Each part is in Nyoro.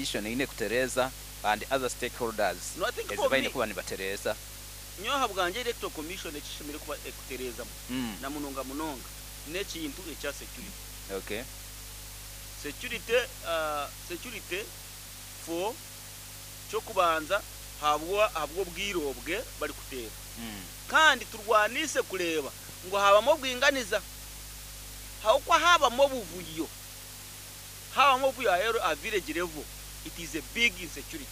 Commission eine kutereeza and other stakeholders No, I think ezi for baine me- kuba nibatereeza? Nyowe aha bwangye, Electoral Commission ekishemereire kuba ekutereezamu na munonga munonga n'ekintu ekya security. Security for ky'okubanza habw'obwire obwe barikuteera. Kandi turwanise kureeba ngu habamu obwinganiza. Ahabw'okuba habamu obuvuyo aha village level, it is a big insecurity.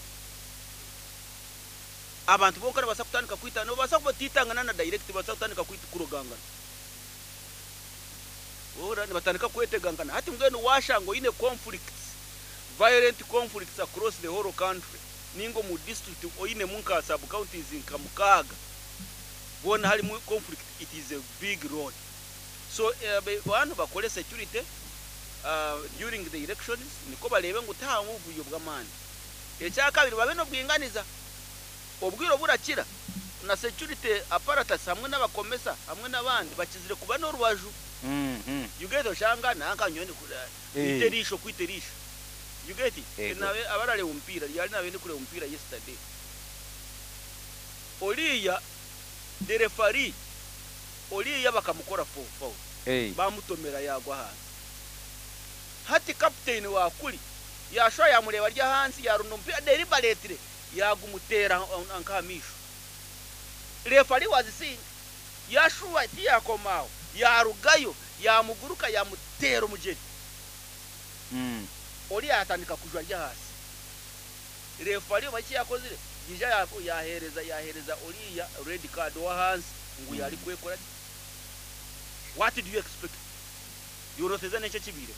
Abantu bonka nibabaasa kutandika kwitana, nibabaasa kuba batitangana na direct, nibabaasa kutandika kurogangana. Ora nibatandika kwetegangana. Hati mbwenu washanga oine conflicts, violent conflicts across the whole country, ninga omu district oinemu nka sub counties nka 6, boona harimu conflict, it is a big road. So bantu bakore security during the elections, niko barebe ngu tihabamu obuvuyo bw'amaani. Ekyakabiri, babe n'obwinganiza. Obwire oburakira na security apparatus hamwe n'abakomesa hamwe n'abandi bakizire kuba n'orubaju. You get, oshanga nanka nyoni kwita eriisho, kwita eriisho. You get it? Ego. Nabe abarareba omupiira, ryari nabe ndi kureba omupiira yesterday. Oriya the referee, oriya bakamukora for foul. Bamutomera yagwa ahansi. Hati captain wa kuri yashwa yamureba arya ahansi, yarunda omupiira deliberately yagumutera nk'aha maisho. Referee was seeing, yashuba tiyakomaho, yarugayo yamuguruka yamutera omugyeri. Oriya yatandika kujwa ari ahansi. Referee oba eki yakozire, yija yahereza oriya red card ow'ahansi ngu yari kwekora ki. What do you expect? Yoroseza n'ekyo ekibiire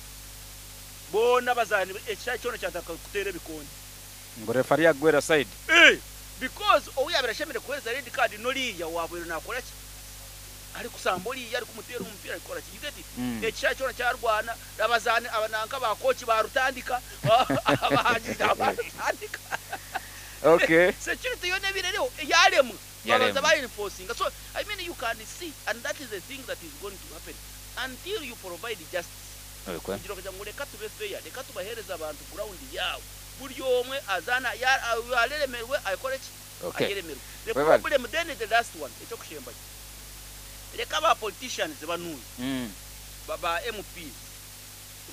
boona bazaani, ekishaayi kyona kyatandika kuteera ebikonde. Ngu referee agwera side. Eh, because ou yabire ashemereire kuhereza red card n'oriya wabaire nakora ki, ari kusamba oriya, ari kumuteera omupiira, ari kukora ki. You get it? Ekishaayi kyona kyarwana, abazaani abananka ba coach barutandika, abahangizi barutandika. Security yona ebire eriho yaremwa. Yaremwa. Babanza baenforcinga. So I mean, you can see, and that is the thing that is going to happen until you provide justice. Kugira kugira ngu reka tube fair, reka tubahereza abantu ground yaabo, buri omwe azana yareremerwe akore ki, ayeremerwe. The Webale. problem then is the last one, ekyokushembayo, reka ba politicians banuyu, ba MPs,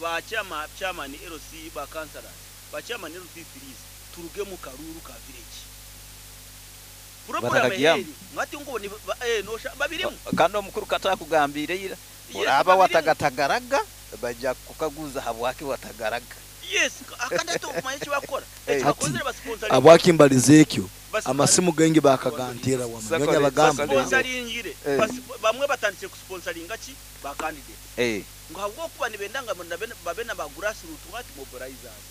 ba chairman LC, ba councillors, ba chairman LC3s, turuge mu karuru ka village. Problem Batakagiyamu. eri ngati ngo ni nosha babirimu. Kandi omukuru katakugambire ira, Yes, oraba babirimu. Watagaratagaraga, bajja kukaguza habwaki watagaraga. Yes, akandi ati okumanya ekibakora, ekibakozere, basponsoringa. Abwakimbaliza ekyo, amasimu gengi bakagantera wamanyonya bagamba. Sponsoringire. Bamwe batandikire kusponsoringa ki ba candidate, ngo habwokuba nibenda nga babe na ba grassroots what mobilizers,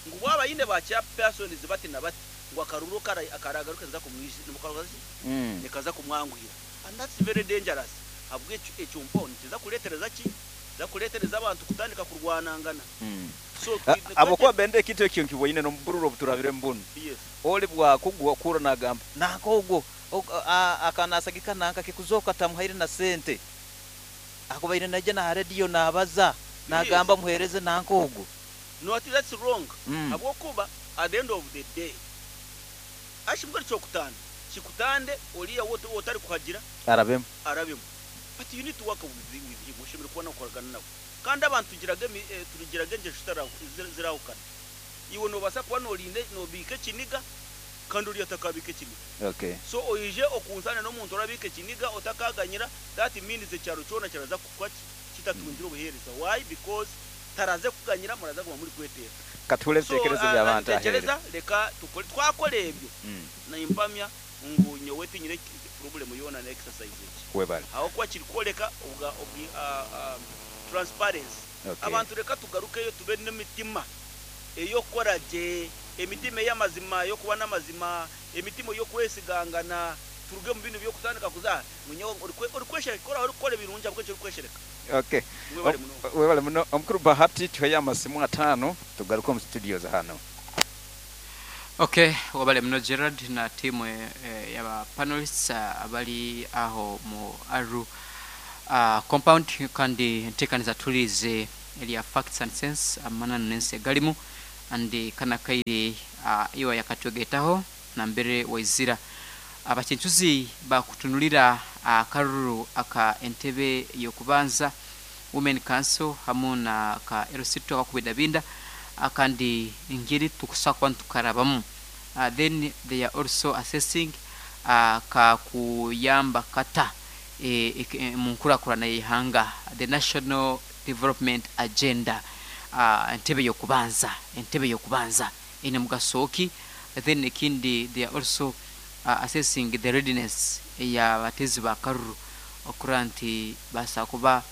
ngo bwaba yine ba chairpersons bati na bati, ngo akaruru akaragaruka nza kumwisha nimukaruka nikaza kumwanguhira. And that's very dangerous, habwekyo ekyo mpo nikiza kuletereza ki, za kuletereza abantu kutandika kurwanangana. So Abokuba bende ekintu ekyo nkiboine n'omubururu obuturabire mbunu. Oli bwakugwa kura nagamba nanka ogwo akanasagika nanka kikuzoka tamuhaire na sente, akubaire najja na radio nabaza nagamba muhereze nanka ogwo. No, ati that's wrong, habwokuba at the end of the day ashimbwa kyokutanda kikutande oriya wote otari kuhagira arabemu. Arabemu. But you need to work with him, oshemere kuba nakoragana nawe. Kandi abantu tugiraga turugiraga engesho zirahukana. Iwe nobasa kuba norinde nobika ekiniga, kandi oriya atakabika ekiniga. So oije okunsana n'omuntu orabika ekiniga otakaganyira, that means ekyaro kyona kiraza kukuba kitatungire obuheereza. Why? Because taraze kuganyira, muraza kuba muri kwetera. Kature So, ebitekerezo by'abantu ahere. Ntekereza reka tukore, twakora ebyo, nimpamya ngu nyowe tinyine problem yona na exercise eki, Webale. aho kuba kiri kworeka obwa transparency. Abantu reka tugarukeyo tube n'emitima ey'okukora gye, emitima ey'amazima, ey'okuba n'amazima, emitima ey'okwesigangana. Turuge mu bintu by'okutandika kuza munyo orikweshereka, ora orikukora ebirungi ahabw'ekyo orikweshereka. Mwebale muno. Webale muno omukuru Bahati. Tuheyo amasimu 5 tugaruke omu studios hano. Okay, wabale muno Gerard na timu yaba panelists abali aho mu Aru compound. Kandi ntekaniza tulize erya Facts and Sense, amananu n'ensi egalimu. Andi kana kaire iwa yakatwegetaho nambere waizira abachenchuzi bakutunulira akaruru aka entebe yokubanza Women Council hamu na ka LC2 akakubidabinda akandi ngeri tukusakwa ntukarabamu. Then they are also assessing ka kuyamba kata munkurakurana y'ihanga, the National Development Agenda, entebe yokubanza ine mugasoki. Then ikindi they are also assessing the readiness ya batezi ba karuru okuranti basakuba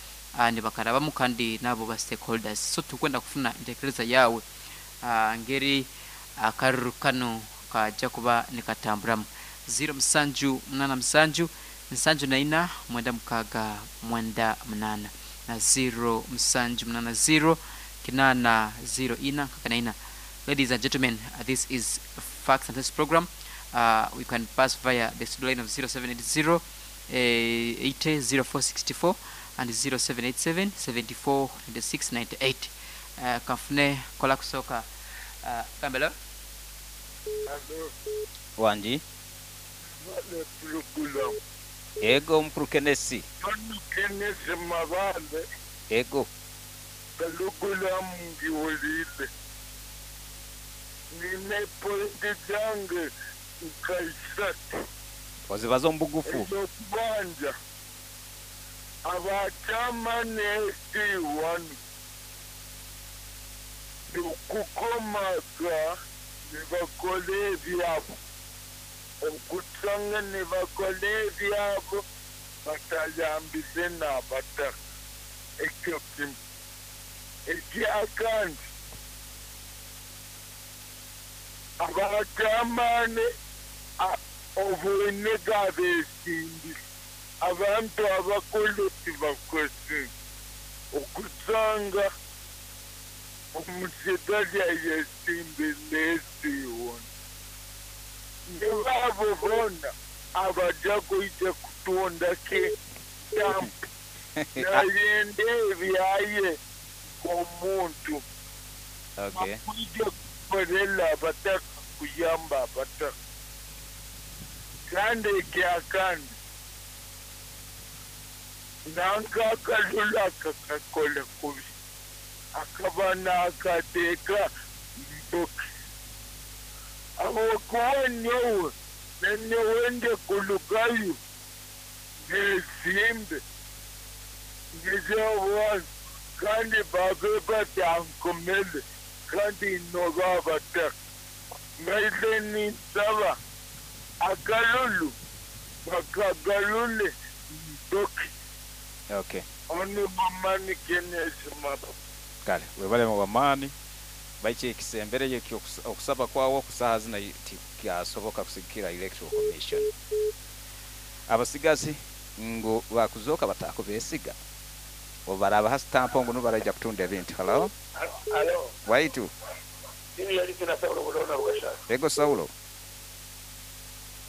ni bakarabamu kandi nabo ba stakeholders. So tukwenda kufuna intekereza yawe ngeri akaruru kano kaja kuba nikatamburamu. 0 7 8 7 7 4 6 98 na 0 7 8 0 8 0 4 9. Ladies and gentlemen, this is Facts and Test program. We can pass via the studio line of 0780 800464 and 0787 74 96 98. Kafune kola kusoka kambelo. Wanji. Ego mkuru Kenesi. Kenesi mabale. Ego. Kalugula mgiwolile. Nine pointi zange nkaisatu. Wazibazo mbugufu. Ekyokubanza. Abachama ne-C1 okukomaga nibakola ebyabo, okutsanga nibakola ebyabo batayambise n'abataka. Ekyo kimu. Ekyakandi, abachamane obwine gabesimbi abantu abakulu tibakwesi okutsanga omusigalya yesimbi nesiwona nibabo bona abaja kuija kutunda ke dampu nayende ebyaye omuntu. Okay. Bakuija kukorela abataka kuyamba abataka. Kandi ekyakandi nanka akalula kakakola kubi akaba n'akateeka mbokisi awokuba nyowe nenyowe nde kulugayo nesimbe ngezeobwana kandi babe batankomele kandi inoba abataka ngaile ninsaba akalulu bakagalule mbokisi. Okay. Oni mamani Kenesi maba. Kale, webale mu bamani baiche ekisembere yekyo okusaba kwawo kusaha zina tikyasoboka kusigikira Electoral Commission. Abasigazi ngo bakuzoka batakubesiga. Obaraba hasitampo ngo nubaraja kutunda ebintu. Hello? Hello. Waitu. Ini yali tena Saulo bulona bugashaka. Ego Saulo.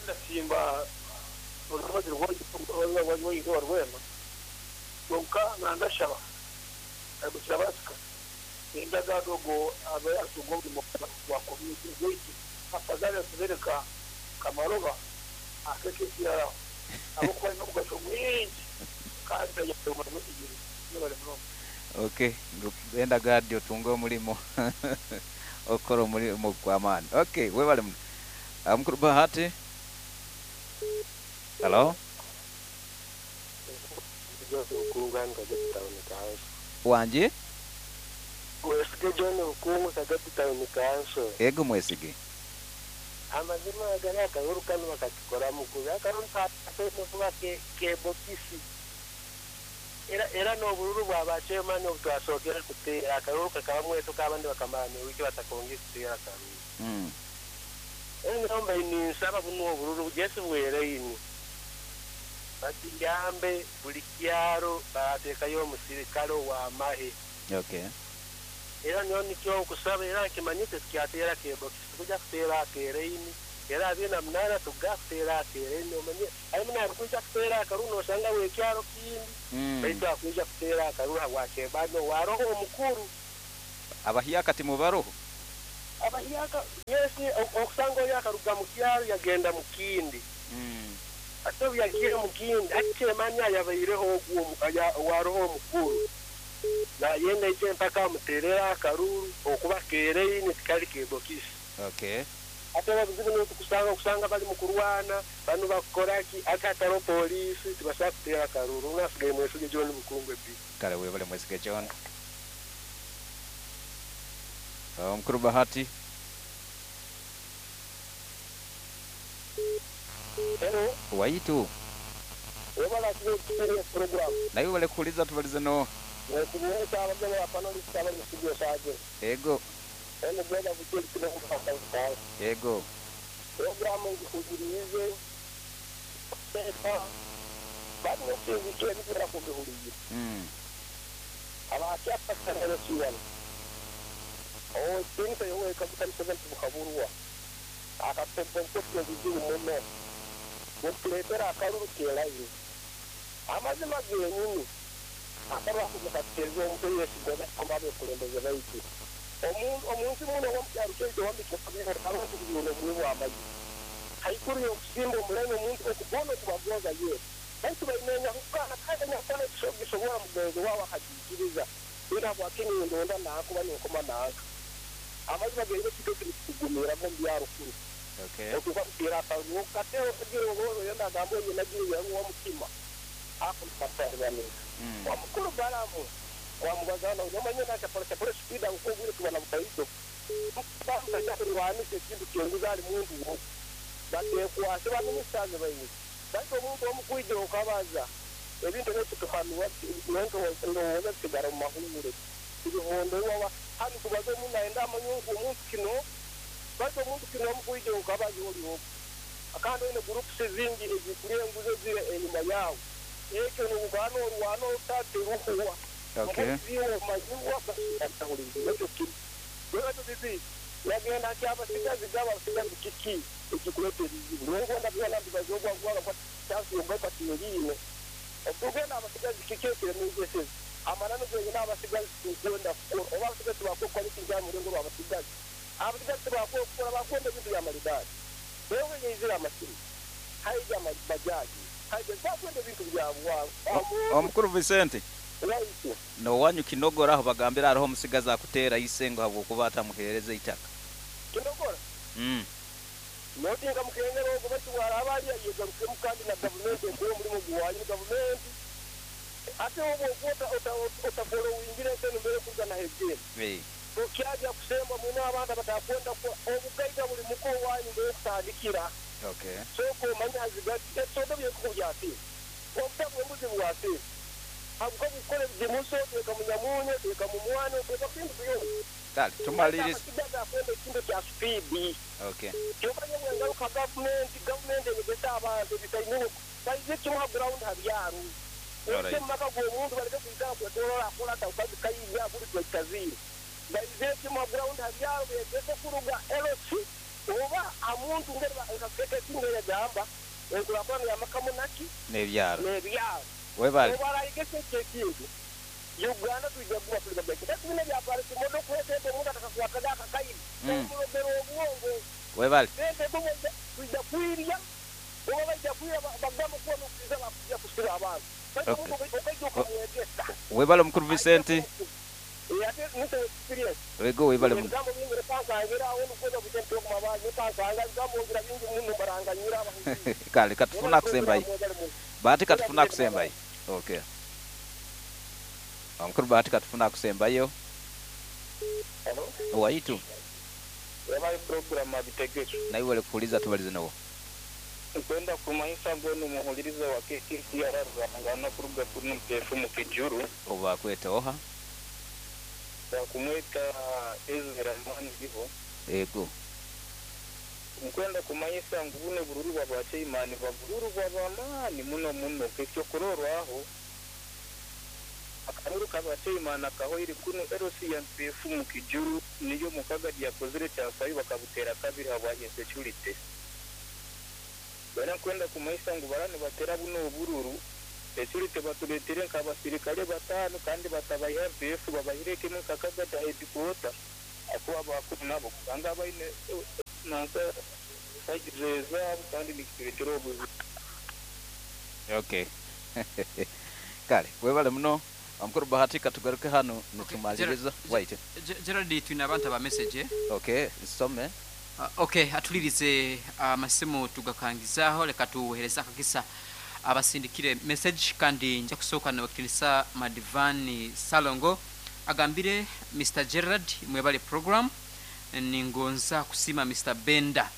Ndasimba olubazi rwo rwema. Konka nandashaba. Agusabasika. Indagadogo abe atugo wa community weitu. Afadhali atubereka kamaroba akeke kiara. Abo kwa no mwingi. Kandi ya mwingi. Okay, enda gadi otunga omulimo okora omulimo gw'amaani. Okay, webale mukuru Bahati. Hello? Wanje? Mwesige John Bukungu Kagati Town Council. Ego mwesige. Amazima agari akaruru kano bakakikora mukubi akaruru kakuba ke bokisi. Era n'obururu bwa chairman obutwasookera kuteera akaruru kakaba mweto kabandi bakamara wiki batakongera kuteera akaruru. Engamba ninsaba buno obururu Jesu bwereini. Batiyambe buli kyaro bateekayo omusirikale w'amahe. Okay. Era niyo nikyo okusaba era nkimanyite tukyateera kebokisi tukujja kuteera akereini. Era 28 tugga kuteera akereini omanye harimu nakuija kuteera akaruru nosanga wekyaro kindi. Baitu akuija kuteera akaruru habwakebano waroho omukuru. Abahiya kati mubaroho? Abahyaka yesi okusanga oyo akaruga mu kyaro yagenda mu kindi. Ate obu yagiire mu kindi hati kyemanya yabaireho ogwo owaroho omukuru. Nayenda ije mpaka amuterera akaruru okuba kereini tikali kebokisi. Okay. Ate ababuzibu nibo tukusanga okusanga bali mu kurwana banu bakukoraki ate hataro poliisi tibasobola kuteera akaruru nasigaye Mwesige John Bukungwe B. Kale webale Mwesige John. Omukuru Bahati. Hello. Waitu. Webale kutukuria program. Nawe webale kuhuliza tubalize no. Nekubuuza abagabo ba panelists abali mu studio saje. Ego. Eno gweda bukeli kino kumufaka. Ego. Programu ngihugirize. Sefa. Bado nsinzikiye bikira kubihuriye. Abakyapa kanelo kiwana. Oh, tinta yowe kabuta Museveni bukaburwa. Akapembe nkoto bizibu muno. Mutuletera akaruru kerayo. Amazima genyini. Akarwa kumukateza omuntu yesigwa kumabe kulembeza baitu. Omuntu muno womukyaro kyaitu wambikira abantu bibino bwo amazi. Haikuru yokusimba omuleme omuntu okubona okubagonza ye. Baitu baimenya kukana kandi nakana ekisobola mugenzi wawe akagikiriza. Ira bwakini ndonda nakuba ninkoma nanka. Amazima genyini kito kugumira mu byaro kuru. Okay. Okuva kutera akaruru katero kugira ngo yenda gambo yenagiye yaruwa mutima. Akumpatarwa. Wamukuru balamu wamugazana unyamanye na chapora chapora speed ukogure tubana butaito bamutaja kurwanisa ekintu kyenguza ali muntu wo batekwase ba ministers bayi baito omuntu omukwije okabaza ebintu ebyo nento ndowooza sigara mu mahure ibihondo wawa hano tubaze omuntu ayenda amanyungu omuntu kino baito omuntu kino omukwije okabaza oliwo akandi ine groups zingi ezikuriye enguzo zire enyuma yawo ekyo n'obugano orwano otateruhuwa. Okay. Yagenda kyabasigazi gabasigazi kiki ekikuleta ebizibu nongonda byona mbibazogwa gwala kwa chance yogata tiyine okugenda abasigazi kiki ekiremezese amanano genyina abasigazi tukwenda kukora oba abasigazi bakokora ekintu murengo rw'abasigazi abasigazi bakokora bakwenda ebintu bya maridadi wewe yizira amasimu haija mabajaji haija bakwenda ebintu bya bwangu. Omukuru Vicente no wanyu kinogora aho bagambira aroho musigaza akutera isengo habwokuba atamuhereza itaka. Kinogora? Notinga mukengero ogo batuwara abali yegaruke mukandi na government ekwo mulimo gwanyu government ate obo okota otafolo uingire senu mbere kuza na hegere. Tukyaja kusemba mwina abantu batakwenda kwa obugaiga buli muko wanyu mbere kutandikira. Okay. Soko manya hazigati etsodo byekujyati. Obutabu embuzi bwasi. Abuko bukole bimuso teka munyamunye teka mumwano teka kintu byose. Kale tumalirize. Sigaza kwenda kintu kya speed. Okay. Kyobanye bwengaruka government egesa abantu bitayinu bayize kimwe ground habyaro. Alright. Maka gwo muntu baleke kuita kwetorola akola taukazi kayibya buli kwetaziri. Bayize kimwe ground habyaro begese kuruga LC oba amuntu ngere bakeke kingere gamba enkulakwana ya makamunaki nebyaro. Nebyaro. Webale. Webale igese kintu. Uganda tuija kuba tulika beke. Tatu bya pale kimodo kwete omuntu atakakwataga akakayi. Omulogero obwongo. Webale. Sente bwo tuija kwirya. Oba bajja kwira bagamba kuwa n'okukiza bakujja kusira abantu. Okay. Webale omukuru Vicente. Wego webale muno. Kale katufuna kusembayo. Bahati katufuna kusembayo. Okay. Omukuru Bahati katufuna kusembayo. Hello. Waitu. Webale program abitegeko. Nawe wale kuuliza tubalize nawo. Nkwenda kumanyisa ngono muhuliriza wa KCCR rwangana kuruga kuri mpefu mu Kijuru. Oba kweta oha. Kumweta Ezra Mani biho. Ego. Nkwenda kumanyisa ngubune bururu bwa imani babururu bw'abamani muno muno kekyo kurorwaho. Akaruru kabateimana kahoiri kuno LC ya mpefu mu Kijuru niyo mukaga yakozire cyafayo bakabutera kabiri habwa insecurity. Bana kwenda kumaisa ngu barani batera buno obururu security batuletere nk'abasirikale batano kandi batabayiha MPF babahireke mu kakaga ta headquarter. Akuba abakuru nabo kusanga baine nanka side zaabo kandi nikitureetera obuzibu. Okay. Kale webale muno omukuru Bahati, katugaruke hanu nitumaliriza. Wait. Gerald, twine abantu aba message, eh? Okay, nsome. Okay, atulirize amasimu tugakangizaho, leka tuwehereza akagisa abasindikire message. Kandi nja kusooka nabakitinisa Madivani Salongo agambire, "Mr Gerard, mwebale program. Ningonza kusima Mr Benda,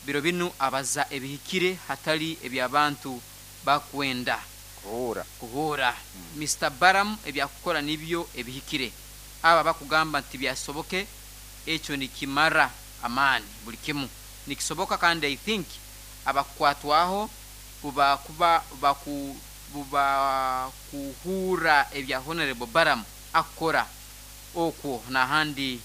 biro binu abaza ebihikire hatali ebyabantu bakwenda kuhura. Kuhura. Mr Baram ebyakukora nibyo ebihikire. Aba bakugamba nti byasoboke, ekyo nikimara amaani. Buli kimu nikisoboka kandi I think abakukwatwaho bubakuba baku bubakuhurra ebya Honorable Baram akukora okwo n'ahandi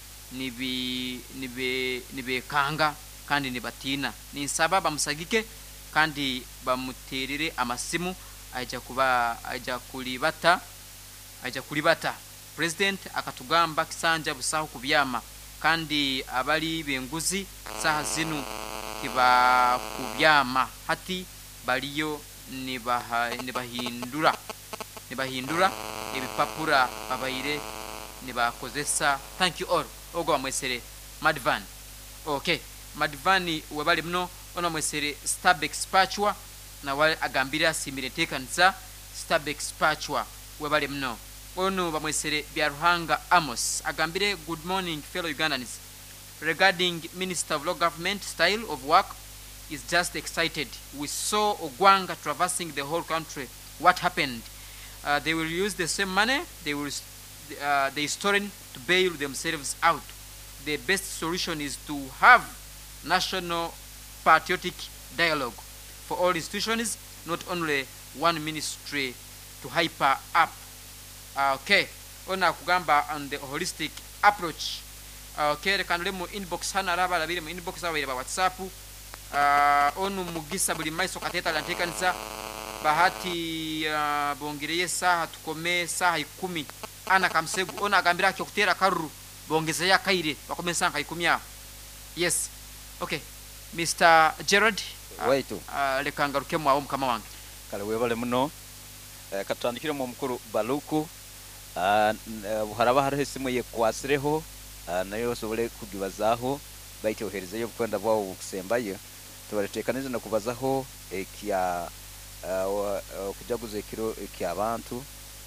nibekanga kandi nibatiina. Ninsaba bamusagike kandi bamuterere amasimu, aija kuba aija kulibata, aija kulibata. President akatugamba kisanja busaho kubyama, kandi abali benguzi saha zinu tibakubyama, hati baliyo nibahindura ebipapura babaire nibakozesa. Thank you all." Ogwo bamwesere Madvan. Okay, Madvani, webale muno. Ono bamwesere Starbex Pachwa, nawe agambire asimire enteekanisa. Starbex Pachwa, webale muno. Ono bamwesere Byaruhanga Amos, agambire, "Good morning fellow Ugandans. Regarding Minister of Local Government, style of work is just excited. We saw Ogwanga traversing the whole country. What happened? They will use the same money they stolen to bail themselves out. The best solution is to have national patriotic dialogue for all institutions, not only one ministry to hyper up." Okay, ono akugamba on the holistic approach. Okay, reka ndore mu inbox hano, araba arabire mu inbox abaire ba WhatsApp. Onu Mugisa buli maiso kateta alantekanisa Bahati, bongereye saha tukome saha 10. Ana Kamsegu ono agambira akyo kutera karuru bongezeyo akaire bakome saha 10 aho. Yes, okay, Mr Gerard. Waitu. Reka ngarukemu awo, mukama wange. Kale, webale muno. Katutandikiremu omukuru Baluku. Haraba hariho esimu yekwasireho, nayo osobole kugibazaaho, baitu oherezeyo obukwenda bwawe bukusembayo. Tubaleteekanize nokubazaho ekya okujaguza ekiro ekyabantu,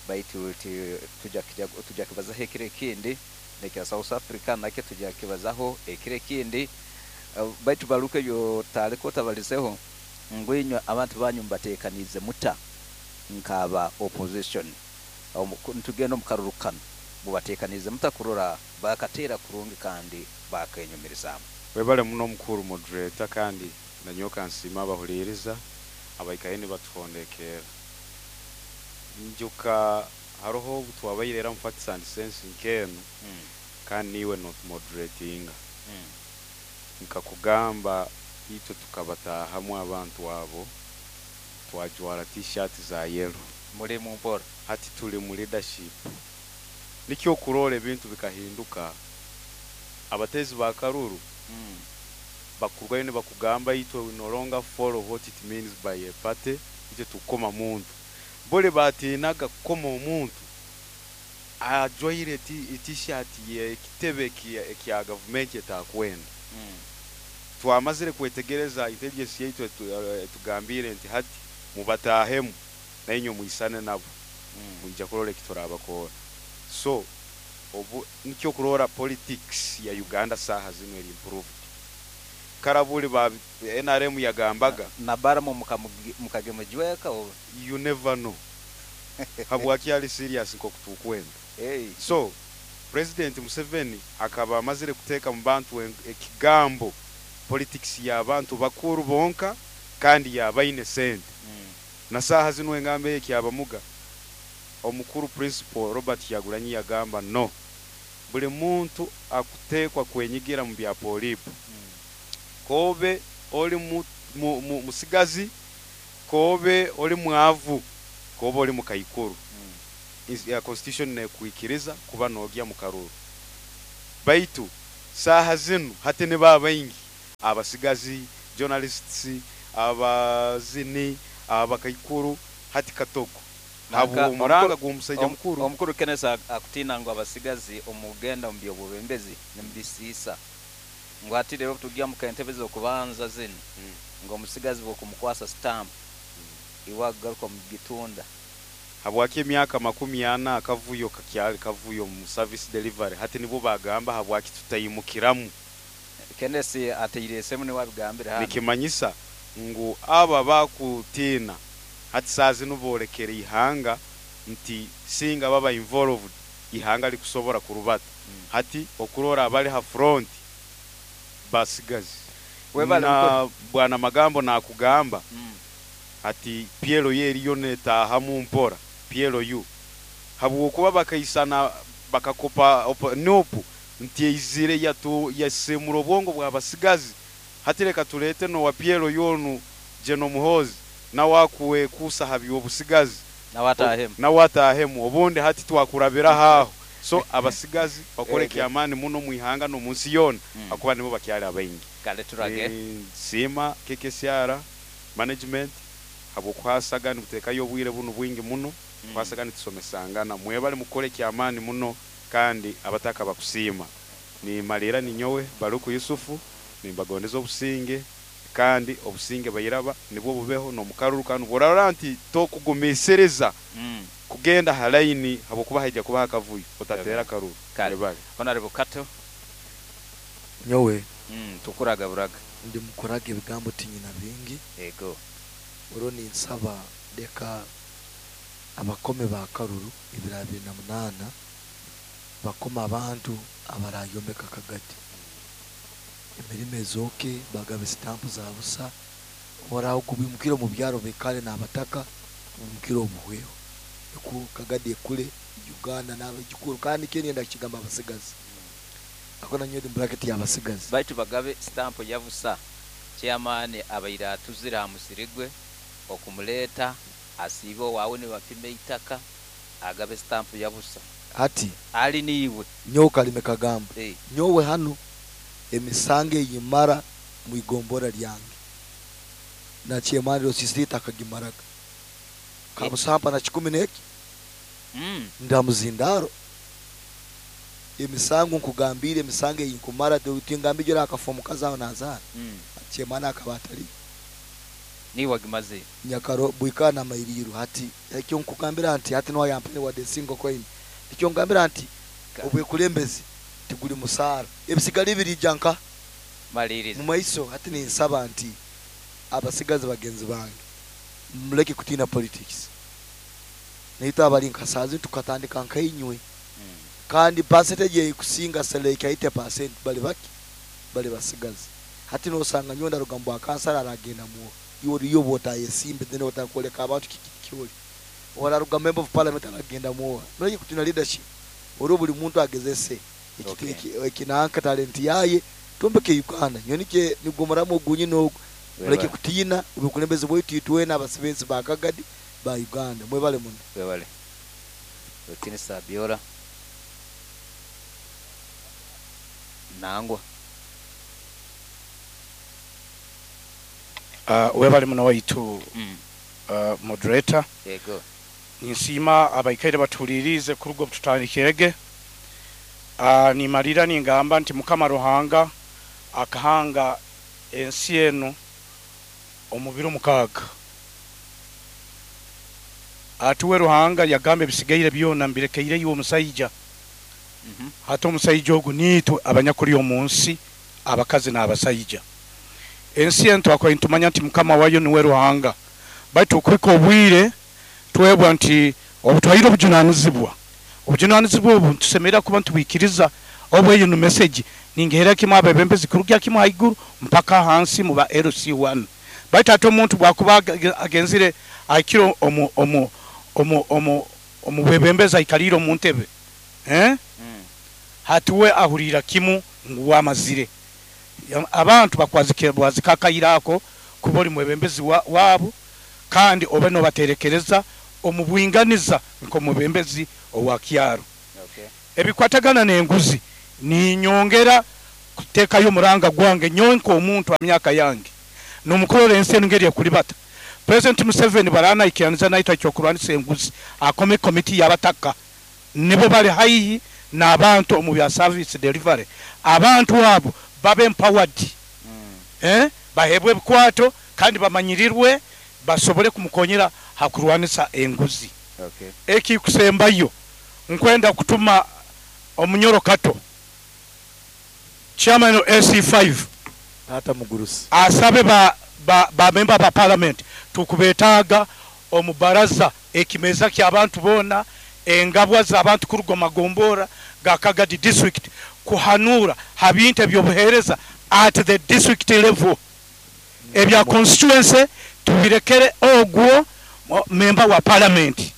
baitu tujja kibazaho ekiro ekindi, nekya South Africa nakyo tujja kibazaho ekiro ekindi. Baitu Baluku, ebyo taliko tabalizeho ngu inywe abantu banyu mubateekaniize muta nk'aba opposition? Nitugenda omu karuru kanu, mubateekaniize muta kurora bakateera kurungi kandi bakenyumirizaamu? Webale muno omukuru moderator, kandi nanyowe nsiima abahuliriza abaikaire nibatuhondekera. Njuka haroho obu twabaire era mu Facts and Sense nk'enu, kandi niiwe notumoderatinga, nkakugamba itwe tukabataahamu abantu abo twajwara T-shirt za yellow. Muri mu mpora. Hati tuli mu leadership, nikyo okurora ebintu bikahinduka. Abatezi ba karuru bakurwayo nibakugamba itwe we no longer follow what it means by a party, itwe tukoma muntu. Bole batinaga kukoma omuntu ajwaire T-shirt y'ekitebe ekya gavumenti etakwenda. Twamazire kwetegereza, intelligence yaitu etugambire nti hati mubatahemu nainywe mwisane nabo, mwija kurora ekiturabakora. So obu nikyo kurora politics ya Uganda saha zino eri improved. Karabuli ba NRM yagambaga Na baramu mukagemujweka oba? You never know, habwaki ali serious nkokutukwenda. Hey. So President Museveni akaba amazire kuteeka mu bantu ekigambo politics y'abantu bakuru bonka kandi yabaine sente. Na saha zino engambo ekyabamuga omukuru Principal Robert Kyagulanyi yagamba no buli muntu akuteekwa kwenyigira mu bya polipo, kobe oli musigazi, kobe oli mwavu, kobe oli mukaikuru, ya constitution nekuikiriza kuba nogya mu karuru. Baitu Saaha zinu hati nibo abaingi abasigazi, journalists, abazini, abakaikuru hati katogo. Nanka Habw'omuranga gw'omusaija mukuru. Omukuru Kenneth akutiina ngu abasigazi omugenda omu by'obwebembezi nimubisiisa. Ngu hati rero tugya mu kentebe z'okubanza zinu ngu omusigazi bw'okumukwasa stamp iwe agaruka omugitunda. Habwaki emyaka 40 akavuyo kakyali kavuyo mu service delivery hati nibwo bagamba habwaki tutaimukiramu. Kenneth ateire esemu niwe abigambire hano. Nikimanyisa ngu abo abakutiina hati saaha zinu boolekere ihanga nti singa baba involved ihanga likusobora kurubata. Hati okurora abali ha front basigazi. Webale Na mukuru. Bwana Magambo nakugamba ati PLU eriyo netaahamu mpora PLU habwokuba bakaisana bakakopa NUP nti eizire yasemura obwongo bw'abasigazi. Hati leka tuleete nowa PLU onu General Muhoozi nawe akuwe kusa ha by'obusigazi. Nawe ataahemu. Nawe ataahemu obundi hati twakurabiraho aho. So abasigazi bakore kyamaani muno mu ihanga n'omu nsi yoona akuba nibo bakyali abaingi. Kale turage. Nsiima KKCR management habw'okuhasaga nibuteekayo obwire bunu bwingi muno kuhasaga nitusomesangana. Mwebale mukore kyamaani muno kandi abataka bakusiima. Nimalira ninyowe Baruku Yusufu nimbagondeza obusinge kandi obusinge bairaba nibwo bubeho n'omukaruru kandi bworarora nti tokugumisiriza kugenda ha line habwokuba haija kuba hakavuyo otatera karuru. Kale. Mwebale. Honorable Kato. Nyowe. Tukuraga buraga. Ndi mukuraga ebigambo tinyina bingi. Ego. Oro ninsaba leka abakome ba karuru ebiro 28 bakoma abantu abarayomeka kagati. Emirimo ezoke bagabe sitampu za busa oraho kubimukira mu byaro bekale n'abataka bimukira obuhweho. Eku kagadi ekule Uganda n'abajukuru kandi Kenya ndakigamba abasigazi. Akona nyowe bracket y'abasigazi. Baitu bagabe stamp ya busa chairman abaira atuzira amusirigwe okumuleta asibe wawe ne bapime itaka agabe stamp ya busa. Ati ali niwe nyowe kalime kagamba. Nyowe hano emisange yimara muigombora lyange. Na chairman rosisita akagimaraga. Kabusampa na 10 neki. Ndamuzindaro. Emisango nkugambire emisange yinkumara tutingambije akafomu kazaho nazana. Chairman akabatali. Ni wagimaze. Nyakaro buikana mairiru hati ekyo nkugambira nti hati no yampere wa desingo coin. Ekyo ngambira nti obwekulembezi tiguli musara. Ebisigali birijanka maliriza. Mu maiso hati ninsaba nti abasigazi bagenzi bange muleke kutina politics. Naita abali nkasazi tukatandika nkainywe. Kandi percentage yekusinga seleka 80% bali baki bali basigazi. Hati no sanga nyonda rugambo akansara aragenda mu yori yobota yesimbe then otakoleka abantu kikioli. Ora rugambo member of parliament aragenda mu. Muleke kutina leadership. Oro buli muntu agezese ekinanka talent yaye tumbeke Uganda. Nyonike nigomoramo gunyi no muleke kutina ubukulembezi bwetu itwe n'abasibenzi ba Kagadi ba Uganda. Mwebale muno. Mwebale. Wetinisa Biola. Nangwa. Webale muno waitu moderator. Yego. Ninsima abaikaire batulirize kurugo tutandikirege. Nimalira ningamba nti Mukama Ruhanga akahanga ensi eno omubiro 6. Atuwe Ruhanga yagambe bisigaire byona mbirekeire iwe omusajja. Hata omusajja ogu nitwe abanyakuli omunsi abakazi n'abasajja. Ensi eno twakwaye ntumanya nti Mukama wayo niwe Ruhanga. Baitu okwika obwire twebwa nti obutwaire obujunanizibwa. Obujunanizibwa obu ntusemerera kuba ntubikiriza obweyo no message ningehera kimwe abebembezi kurugya kimwe haiguru mpaka hansi mu ba LC1. Baitu ate omuntu bwakuba agenzire aikiro omu omu omu omu omubebembezi aikalire omu ntebe. Hatuwe ahurira kimu ngu wamazire. Abantu bakwazike bwazikakayirako kuba oli mwebembezi wabo kandi obe no baterekereza omubwinganiza nko mubembezi owa kyaro. Ebikwatagana n'enguzi ninyongera Kutekayo omuranga gwange nyowe nk'omuntu ha myaka yange nomukurora ensi enu ngeri ekulibata. President Museveni baranaikiraniza naitwe ekyokurwanisa enguzi, akome komiti y'abataka, nibo bali haihi n'abantu omu bya service delivery. Abantu abo babe empowered, bahebwe ebikwato kandi bamanyirirwe, basobole kumukonyera ha kurwanisa enguzi. Ekikusembayo, nkwenda kutuma omunyoro Kato, chairman wa LC5, Tata Mugurusi, asabe ba member ba parliament tukubetaaga omu baraza ekimeza ky'abantu boona, engabwa z'abantu kuruga omu magombora ga Kagadi district, kuhanura ha bintu ebyobuheereza at the district level. Ebya constituency tubirekere ogwo member wa parliament,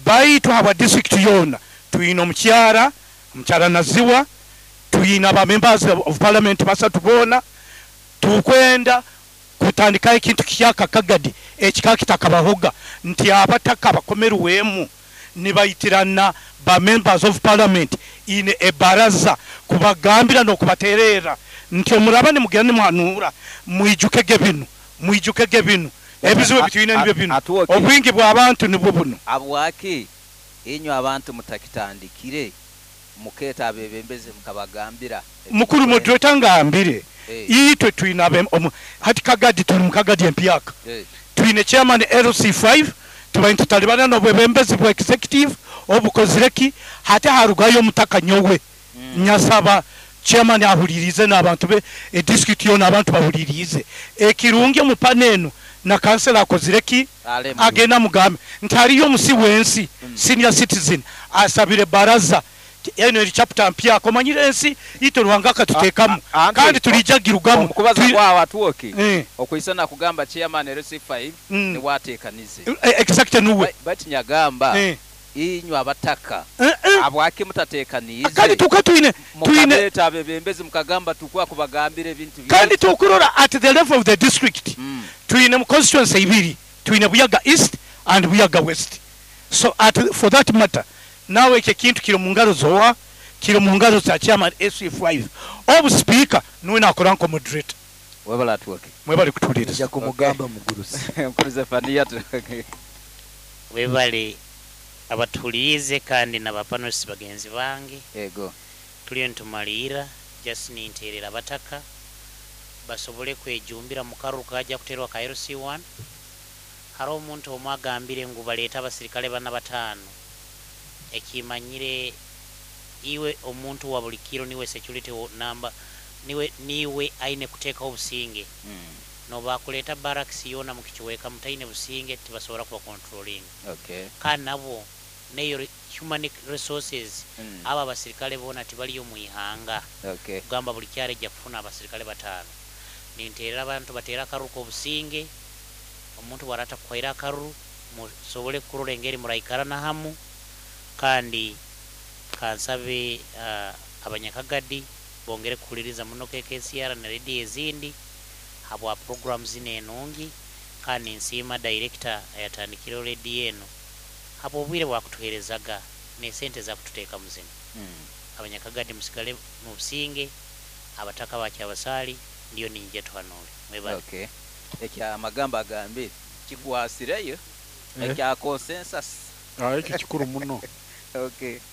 baitu habwa district yoona tuyina omukyara Naziwa, tuyina ba members of parliament basatu boona. Tukwenda kutandikaho ekintu kihyaka Kagadi ekika kitakabahoga, nti abataka bakomerwemu nibaitirana ba members of parliament ine ebaraza kubagambira n'okubaterera nti omuraba nimugenda nimuhanura, mwijukege binu, mwijukege binu, ebizibu ebitwine nibyo binu, obwingi bw'abantu nibwo buno. Abwaki inywe abantu mutakitandikire muketa abebembezi mukabagambira? Mukuru moderator, ngambire itwe twina hati Kagadi tuli mu Kagadi empyaka, twine chairman LC5, tubaine tutalibana n'obwebembezi bwa executive obukozireki. Hati harugayo omutaka nyowe nyasaba chairman ahulirize n'abantu be, edistrict yona abantu bahulirize ekirungi omupana eno na kansela akozireki, agenda mugambe nti hariyo omusi wensi, senior citizen asabire baraza eno eri chapter mpya. Komanyire ensi ito Ruhanga akatutekamu kandi tulijagirugamu. Omukubaza kwawe atuoki okwisana kugamba chairman LC5 niwatekanize. Exact nuwe. But nyagamba inywe abataka abwaki mutatekanize? Kandi tuka twine mukaleta abebembezi mukagamba tukwa kubagambira ebintu. Kandi tukurora at the level of the district, twine mu constituency ibiri, twine Buyaga East and Buyaga West. So for that matter, nawe ekyo ekintu kiri mu ngaro zowa, kiri mu ngaro za chairman SC5, obu speaker nuwe nakora nko moderator. Webala atuoke. Mwebale kutuliriza. Nja kumugamba Mugurusi. Mukuru Zefania. Webale abatuliize kandi n'abapanelist bagenzi bange. Ego. Tuliyo nitumalira, just ninterera abataka basobole kwejumbira mu karuru kajja kuterwa ka LC1. Hariho omuntu omwe agambire ngu baleeta abasirikale bana bataano. Ekimanyire iwe omuntu wa buli kiro niwe security number, niwe aine kuteekaho obusinge. Nobakuleeta barracks yoona mu kikiweeka mutaine businge tibasobola kuba controlling. Kandi nabo neyo human resources, aba abasirikale boona tibaliyo mu ihanga. Kugamba buli kyalo ejja kufuna abasirikale bataano. Ninteerera abantu bateera akaruru k'obusinge, omuntu bw'arata kuhaira akaruru musobole kurora engeri muraikarana hamu. Kandi kansabe abanyakagadi bongere kuhuliriza muno KKCR na radio ezindi habwa program zino enungi. Kandi nsiima director ayatandikire radio eno habwa obwire bwakutuherezaga n'esente zakututeeka muzino. Abanyakagadi musigale mu businge, abataka bakyabasaali ndiyo ninjja tuhanule. Mwebale. Ekya amagambo agambire kikwasireyo ekya consensus. Ekyo kikuru muno.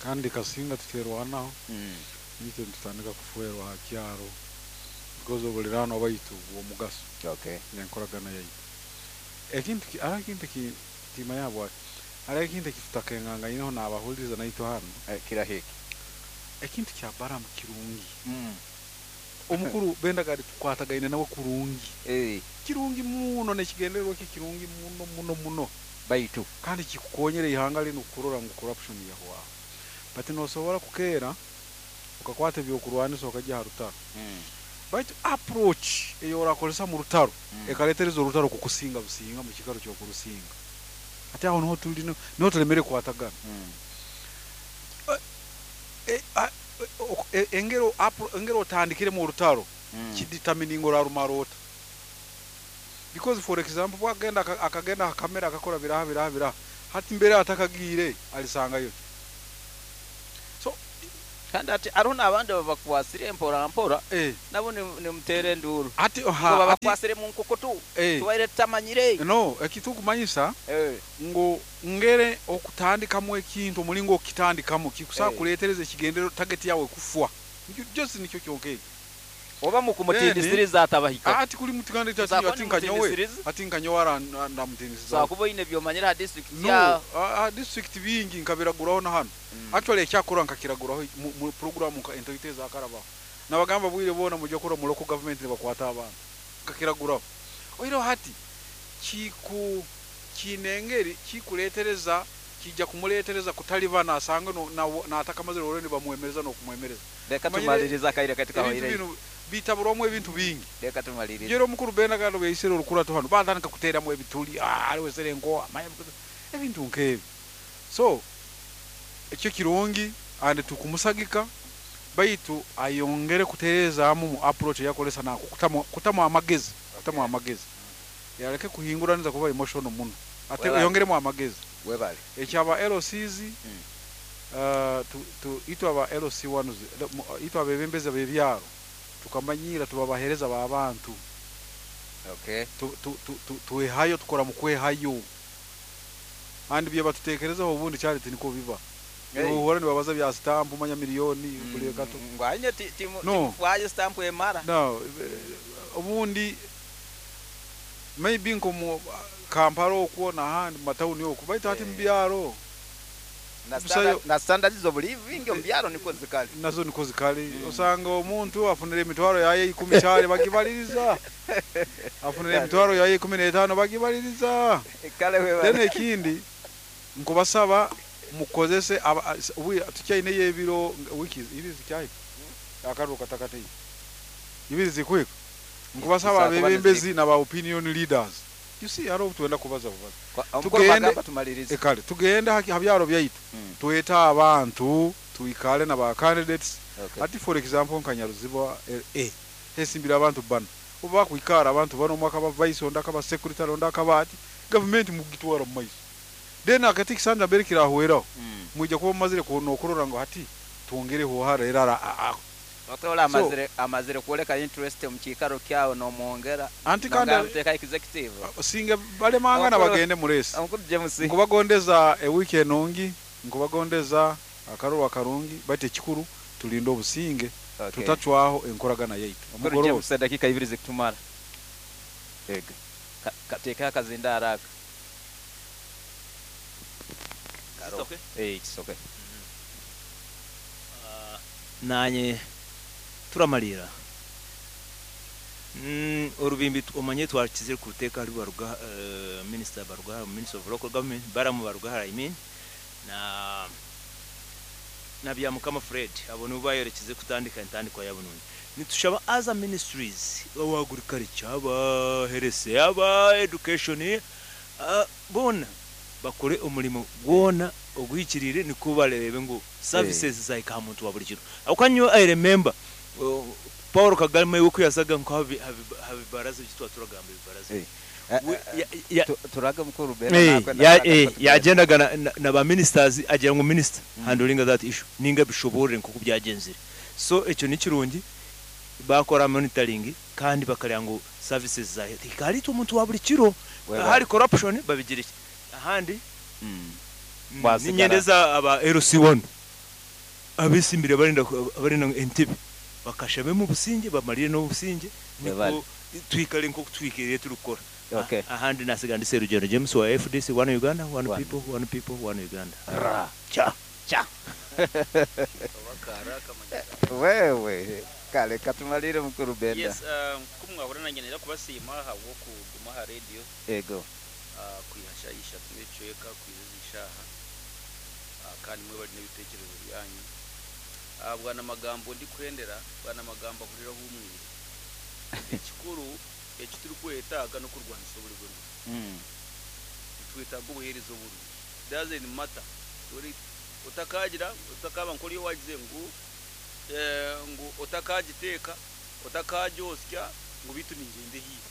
Kandi kasinga tuterwanaho, nitwe tutandika kufuerwa ha kyaro because obulirano baitu bw'omugaso. N'enkoragana yaitu. Ekintu ara kintu ki tima yabwa ara ekintu ekitutakengangaineho n'abahuliriza naitwe hano. Kirahiki. Ekintu kya Balamu kirungi. Omukuru Bendagadi tukwatagaine nawe kurungi. Kirungi muno n'ekigendererwa kye kirungi muno muno muno. Baitu kandi kikukonyera ihanga linu kurora ngu corruption yahwaho. But nosobora kukeera ukakwata ebyokurwanisa okajya ha rutaro. Baitu approach eyo orakozesa mu rutaro ekaletereza orutaro kukusinga businga mu kikaro ky'okurusinga. Ate aho niho tuli, niho tulemere kukwatagana. Engero otandikiremu orutaro kidetermining orarumara ota. Because for example bwagenda akagenda akamera akakora biraha biraha biraha, hati mbere atakagiire alisangayo. So Kandi ati hariho n'abandi babakwasire mpora mpora nabo nimuteera enduuru. Ati babakwasire mu nkukutu tubaire tutamanyire. No, ekitukumanyisa ngu ngere okutandikamu ekintu omulingo okitandikamu kikusaa kuleetereza ekigendero target yawe kufwa. Just nikyo kyonka ekyo. Oba mukumutindisiriza atabahika. Ati kuli mutiganda ati nkanyowe. Ati nkanyowe ndamutindisiriza. Sakuba oyine byomanyira ha district ya. No, ha district bingi nkabiraguraho na hano. Actually ekyakora nkakiraguraho mu program nka entity zakarabaho. Nabagamba bwire bona mujye kora mu local government bakwata abantu. Nkakiraguraho. Oiro hati kiku kinengeri kikuletereza kijja kumuletereza kutalibana asanga no na atakamazire orende bamwemereza no kumwemereza. Reka tumaliriza kaire katika hoire. Bitaburwamu ebintu bingi. Reka tumalirize. Yero mukuru Benda galo beisire orukura hano batandika kuteramu ebituli ariwe serengo ebintu nkebi. So ekyo kirungi ande tukumusagika baitu ayongere kutereza mu approach yakolesa na kutamu amagezi, kutamu amagezi. Yareke kuhinguraniza kuba emotional muno. Ate yongeremo amagezi. Webale. Ekyaba LCs tu aba LC1 itu abebembeza bebyaro tukamanyira tubabahereza ba bantu. Okay. Tuwehayo tukora mu kwehayo. Andi bye batutekerezaho ubundi charity niko biba. Uhora nibabaza bya stamp umanya miliyoni kuli gato. Ngwanye timufwaye stamp emara. No, ubundi maybe nko mu Kampala okwo na handi matawuni okwo baitu ati mbyaro. Na standards of living mbyaro niko zikali. Nazo niko zikali. Osanga omuntu afunira emitwaro yaye 10 cyane bagibaliriza. Afunira emitwaro yaye 15 bagibaliriza. Kale wewe. Then ekindi nkubasaba mukozese tukyaine yebiro wiki ibi zikyayi. Akaruka takati. Ibi zikwiko. Nkubasaba abebembezi na ba opinion leaders. You see haro tuenda kubaza kubaza. Tugende tumalirize. Ekale tugende habyaro byaitu. Tueta abantu tuikale na ba candidates. Okay. Ati for example nkanyaruziba hesimbira abantu bana. Uba kuikara abantu bano mwaka ba vice onda kaba secretary onda kaba ati government mugitwara mu maiso. Then akati kisanja mbere kirahweraho. Mujya kuba mazire kunokurora ngo hati twongereho harera Otola amazire amazire kuoleka interest mu kikaro kyawo no mwongera. Anti kandi teka executive. Singe bale mangana bagende muresi. Nkubagondeza e week enongi, nkubagondeza akaruru akarungi bate kikuru tulinde obusinge. Okay. Tutacwaho enkoragana yaitu. Omugoro James dakika 2 zikutumara. Ega. Kateka akazinda haraka. It's okay. It's okay. Nanye turamalira orubimbi omanye twakizire kuruteka ari baruga minister baruga minister of local government baramu baruga I mean na bya mukama Fred abo nibo bayerekize kutandika intandiko yabo none nitushaba other ministries aba agriculture aba health aba education bona bakore umurimo gwona ogwikirire niko barebe ngo services zaika muntu wa buri kiro akanyo I remember Paul Kagame uko yasaga nko habibaraza byitwa turagamba ibibaraza turaga mukuru Bena yagendaga na ba ministers agira ngo minister handling that issue ninga bishobore nko kubyagenzire so ekyo ni kirungi bakora monitoring kandi bakarya ngo services za ikari umuntu wa buri kiro hari corruption babigira iki ahandi ninyendeza aba LC1 abisimbire barinda entebe bakashabe mu businge bamarire no businge niko twikale nko twikiriye turukora. Okay. Ahandi nasiga ndi Serugendo James wa FDC one Uganda one people one people one Uganda. Ra cha cha. Wewe kale katumalire mukuru Benda. Yes, kumwahura nanjye nera kubasima habwo kuguma ha radio. Ego. Kwihashayisha tumecweka kwizishaha kandi mwe bari n'ibitekerezo byanyu. Bwana magambo ndi kwendera bwana magambo ahurira humwire. Ekikuru ekituri kwetaga no kurwanisa buri buri. Twitaga ubuherezo buri. Doesn't matter. Uri utakagira utakaba nkori wagize ngo ngo utakagiteka utakajosya ngo bitu ningende hiyo.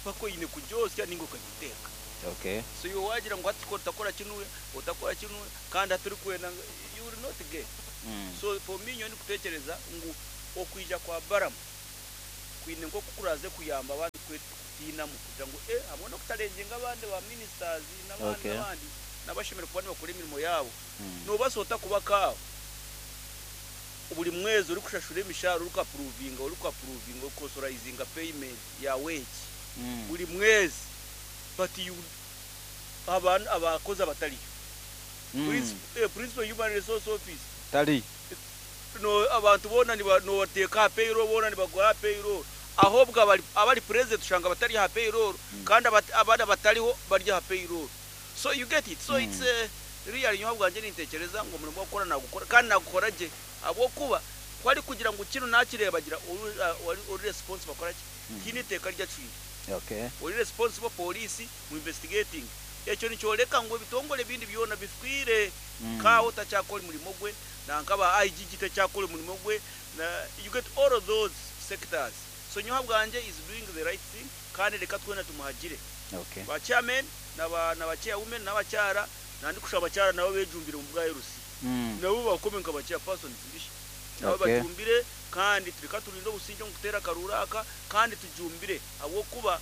Pako ine kujosya ningo kagiteka. Okay. So you wagira ngo ati ko utakora kinuye utakora kinuye kandi aturi kwenda you will not get. So for me, nyowe ndikutekereza ngu okwija kwa Balaam kwine nk'oku kuraze kuyamba abandi kutiinamu kugira ngu hamwe n'okutarengyinga abandi ba ministers n'abandi n'abandi nabashemereire kuba nibakora emirimo yaabo. Nobaasa ota kuba kaawe buri mwezi orikushashura emishahara, orikuapprovinga, orikuauthorizinga payment ya wage buri mwezi, but you abantu abakozi abatariyo? Principal human resource office tali no abantu bona nobateeka aha payroll, bona nibaguha aha payroll, ahobwo abari president ushanga batari aha payroll, kandi abandi abatariho bari aha payroll. So you get it? So it's really, nyowe bwanje nintekereza ngo omurimo gukora nagukora kandi nagukora gye, ahabwokuba kwari kugira ngu kino nakireba gira ori responsible akora ki kine iteeka ryacwire. Ori responsible police mu investigating ekyo nikyoreka ngu ebitongore ebindi byona bifiire. Kawo takyakora omurimo gwe, nankaba IGG takyakora omurimo gwe, na you get all of those sectors. So nyowe bwanje is doing the right thing, kandi reka twena tumuhagire. Ba chairman naba chairwomen n'abakyara, nandi kushaba abakyara nabo bejumbire mu bwa LC, nabo bakome nka ba chairpersons bishi nabo bajumbire, kandi tureka turinde obusinge omu kuteera akaruru aka, kandi tujumbire ahabwokuba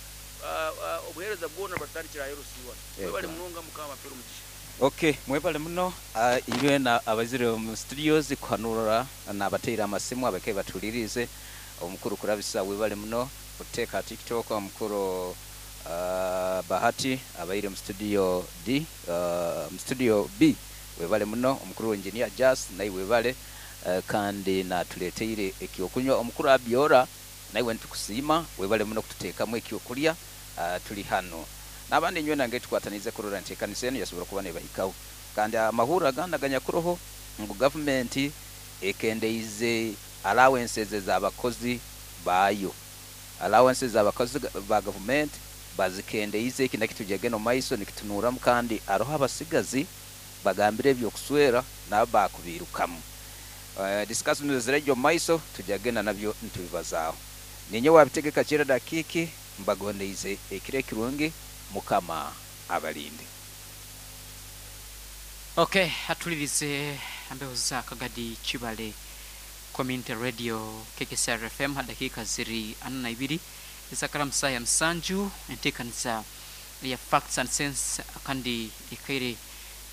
obuheereza bwona batandikira aha LC 1. Mwebale munonga, Mukama apere omugisha. Okay, mwebale muno inywe na abazire mu studios kuhanura nabateire amasimu abake batulirize. Omukuru kurabisa, webale muno kuteeka TikTok. Omukuru Bahati abaire mu studio D, mu studio B, webale muno. Omukuru engineer Jas naye webale, kandi natuleteire ekyokunywa. Omukuru Abiora nawe nitukusiima, webale muno kututeekamu ekyokulya. Tuli hano n'abandi inywe nange tukwatanize kurora nti ekanisa enu yasobora kuba nebahikaho, kandi amahurro agandi aganyakuroho ngu gavumenti ekendeize allowances z'abakozi baayo, allowances z'abakozi ba gavumenti bazikendeize. Eki nakyo tujagenda omu maiso nikitunuramu, kandi aroho abasigazi bagambire ebyokuswera nabo bakubirukamu. Discussion zirajya omu maiso, tujagenda nabyo nitubibazaaho. Ninye wabitegeka kira dakiki, mbagondeize ekiro ekirungi, Mukama abalinde. Okay, atulirize ambeho za Kagadi Kibale Community Radio, KKCR FM, dakika ziri 42 ezakara saa ya 7. Enteekaniza ya Facts and Sense kandi ekaire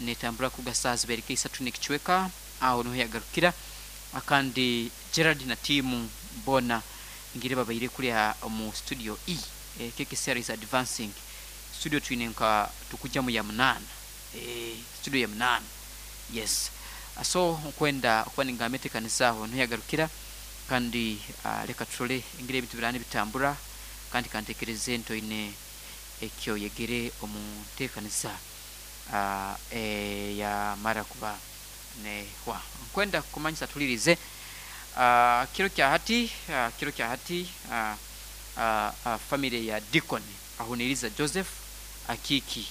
netambura kuga saa zibereka 3 n'ekicweka, aho niho yagarukira. Kandi Gerard na tiimu bona ngire babaire kulya omu studio E. KKCR is advancing studio, twine nka tukujja mu ya 8, studio ya 8, yes. So nkwenda okuba ningamba enteekaniza aho niho yagarukira, kandi leka tutole engeri ebintu birani bitambura, kandi kantekereze ntoine ekyo yegere omu nteekaniza eyamara kuba nehwa. Nkwenda kumanyisa tulirize kiro kya hati, kiro kya hati family ya Deacon Ahuniriza Joseph Akiki,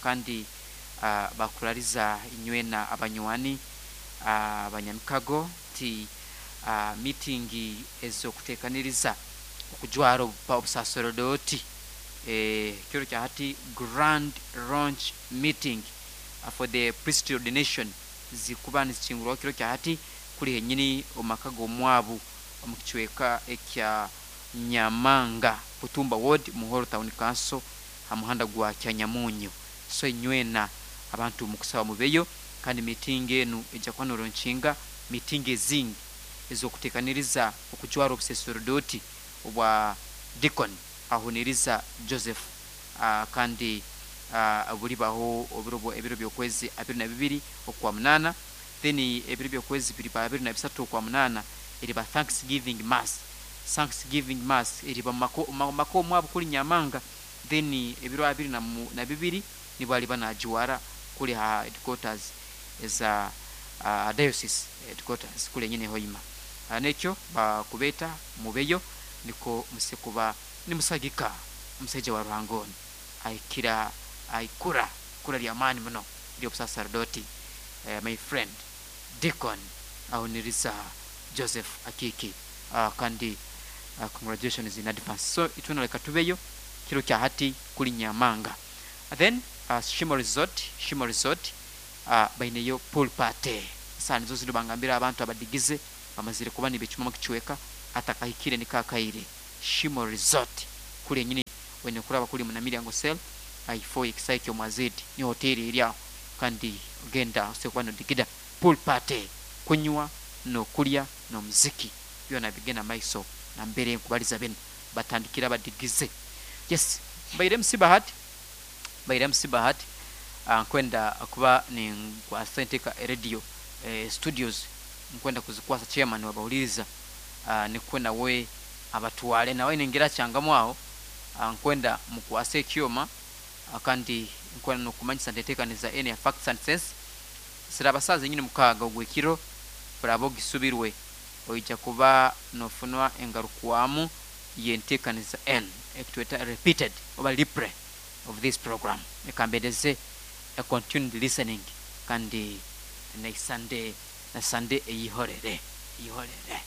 kandi bakurariza inywena abanywani, abanyamikago ti meeting ezokutekaniriza okujwara obusaserodoti, kiro kya hati grand launch meeting for the priestly ordination zikuba nizikingurwaho kiro kya hati kuli henyini omumaka g'omwabu omu kicweka ekya Nyamanga, Butumba Ward, Muhoro Town Council, ha muhanda gwa Kyanyamunyu. So inywena abantu mukusaba mubeyo, kandi meeting enu ejja kuba noronkinga meeting ezingi ez'okutekaniriza okujwara obusaserodoti obwa Deacon Ahuniriza Joseph, kandi bulibaho ebiro by'okwezi 22 okwa 8. Then ebiro by'okwezi biriba 23 okwa 8 eriba thanksgiving mass. Thanksgiving mass eriba mu maka omwabo kuli Nyamanga. Then ebiro 22 nibwo aliba najiwara kuli ha headquarters eza diocese headquarters kuli enyine Hoima. Nekyo bakubeta mubeyo, niko musekuba nimusagika omusaija wa Ruhangoni aikira aikura kura lyamaani muno ly'obusaserdoti, my friend Deacon Ahuniriza Joseph Akiki, kandi congratulations in advance. So itwena leka tubeyo kiro kya hati kuli Nyamanga. Then Shimo Resort, Shimo Resort baineyo pool party. Saha nizo zino bangambira abantu abadigize bamazire kuba nibecumamu kicweka atakahikire nikakaire Shimo Resort kuli enyini wene kuraba kuli Munamilyango cell aifo ekisai kyomwazidi ni hoteli eri aho, kandi ogenda osekuba nodigida pool party, kunywa nokulya nomuziki byona bigenda maiso. Nambere nkubaliza bino batandikira abadigize. Yes, mbaire MC Bahati, mbaire MC Bahati. Nkwenda kuba ninkwasa enteka radio studios, nkwenda kuzikwasa chairman wabahuliriza, nikwe nawe abatwale nawe ningira kyangamu aho. Nkwenda mukwase ekyoma, kandi nkwenda nokumanyisa nti enteekaniza enu ya Facts and Sense siraba saaza enyini 6 ogw'ekiro. Oraba ogisubirwe oija kuba nofunwa engarukwamu y'enteekaniza enu ekitweta repeated oba replay of this program. Ekambendeze a continued listening, kandi na Sunday na Sunday eyihorere eyihorere.